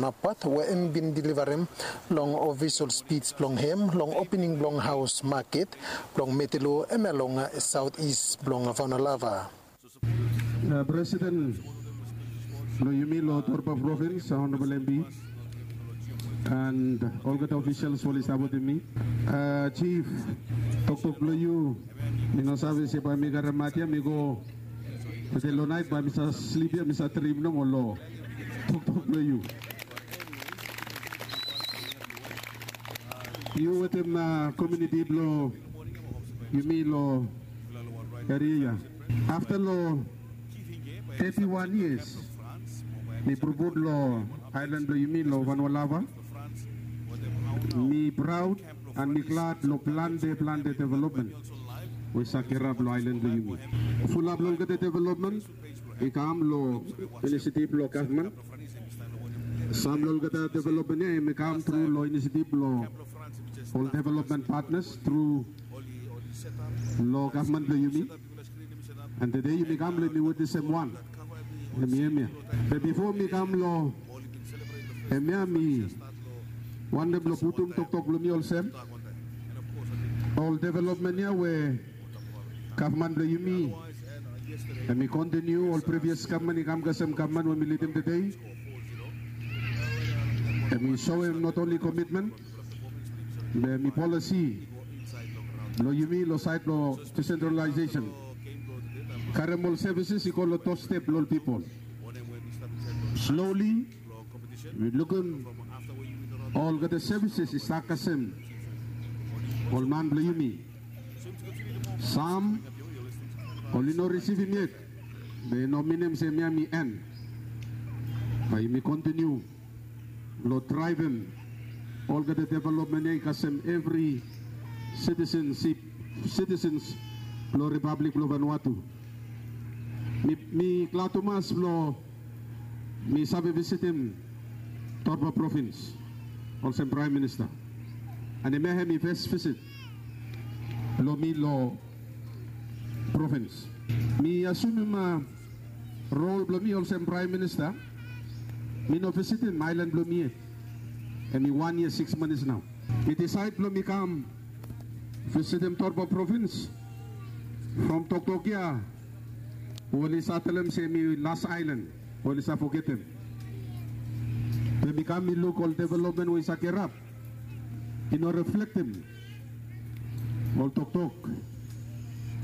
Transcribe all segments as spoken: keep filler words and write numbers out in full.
Napat we hem bin deliverem long official speech blong hem long opening blong haus maket blong Metelo hemia long southeast blong Vanolava. Presiden blong yumi long Torba Provins, Honorable M P, and olgeta officials we oli stap wetem mi. Chief, toktok blong yu mi no save se bae mi karemaot ia mi go. Tede long naet bae mi save slip ia mi save drim nomo long toktok blong yu. Yu wetem komuniti blong yumi long eria ia. Afta long teti wan yias mi purupuru long aelan blong yumi long Vanolava. Mi praod an mi glad long plante plante developmen we i save kirap long aelan blong yumi. Fulap long olgeta developmen i kam long inisiatif blong gavman. Sam long olgeta developmen ia hem i kam tru long inisiatif blong ol developmen patnas tru long gavman blong yumi. An tede yumi kam long yumi witnesem wan. Hem i hemia. Be bifo mi kam long hemia mi wantem long putum toktok blong mi olsem, ol developmen ia we gavman blong yumi hem i kontiniu ol privias gavman i kam kasem gavman we mi lidim tede. Hem i soem not onli komitmen be hem i polisi blong yumi long saed blong disentralaesesen. Karem ol sevises i go long dostep blong ol pipol. Sloli wi lukim olgeta sevises i stap kasem ol man blong yumi. Sam oli no risivim yet. Be i no minim se hemia hem i en. Bae yumi kontiniu long draevem olgeta developmen ia i kasem evri sitisensip sitisens blong ripablik blong Vanuatu. Mi glad tumas blong mi save visitim Torba Provins olsem Praem Minista. An hemia hem i fes visit blong mi long provins. Mi asumim rol blong mi olsem Praem Minista mi no visitim aelan blong mi yet. Hem i wan yia sikis manis nao. Mi disaed blong mi kam visitim Torba Provins from toktok ia we oli save talem se hem i las aelan we oli save fogetem. Be mi kam mi luk ol developmen we i save kirap i no reflektem ol toktok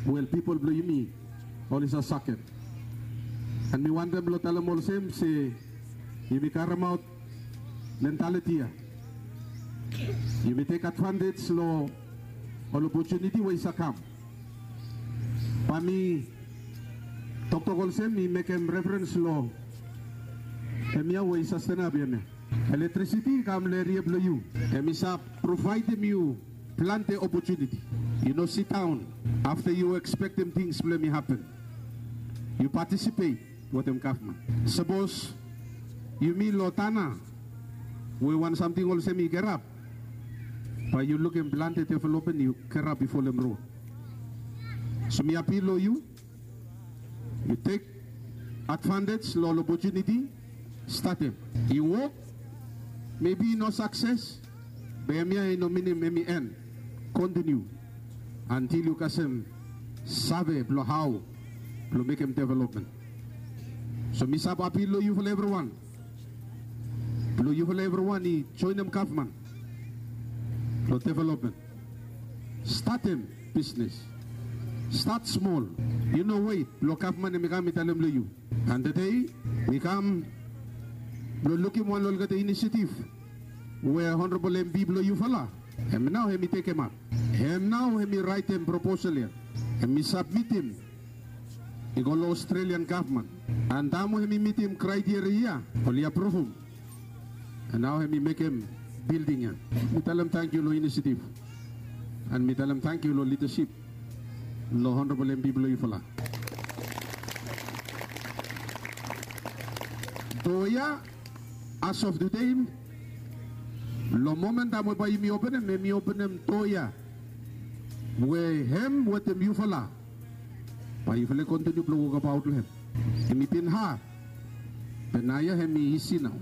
we ol pipol blong yumi oli save sakem. An mi wantem blong talem olsem se yumi karemaot mentaliti ia. Yumi tek advantej long ol opotuniti we i save kam. Bae mi toktok olsem mi mekem referens long hemia we i sastenap ia hemia. Elektrisiti i kam long eria blong yu. Hem i save provaedem yu plante opotuniti. Yu no sidaon afta yu ekspektem tings blong hem i hapen. Yu patisipet wetem gavman. Sapos yumi long tana we wan samting olsem i kirap, bae yu lukim plante developmen i kirap i folem rod. So mi apil long yu, yu tek advantej long ol opotuniti. Statem. I wok, mebi i no sakses, be hemia i no minim hem i en. Kontiniu antil yu kasem save blong hao blong mekem developmen. So mi save apil long yufala evriwan blong yufala evriwan i joenem gavman long developmen. Statem bisnes. Stat smol. Yu no wet blong gavman hem i kam i talem long yu. An tede mi kam blong lukim wan long olgeta inisiatif we honorabol empi blong yufala hem nao hem i tekemap. Hem nao hem i raetem proposal ya hem i sabmitim i go long Australian gavman. An taem we hem i mitim kraeteria ya oli apruvum. An nao hem i mekem bilding ya. Mi talem tangkiu long inisiatif an mi talem tangkiu long lidasip long honorabol empi blong yufala. Doa ya as of tede long momen taem we bae yumi openem hem i openem doa ya we hem wetem yufala bae yufala i kontiniu blong wokabaot long hem. Hem i bin had be naoia hem i isi nao.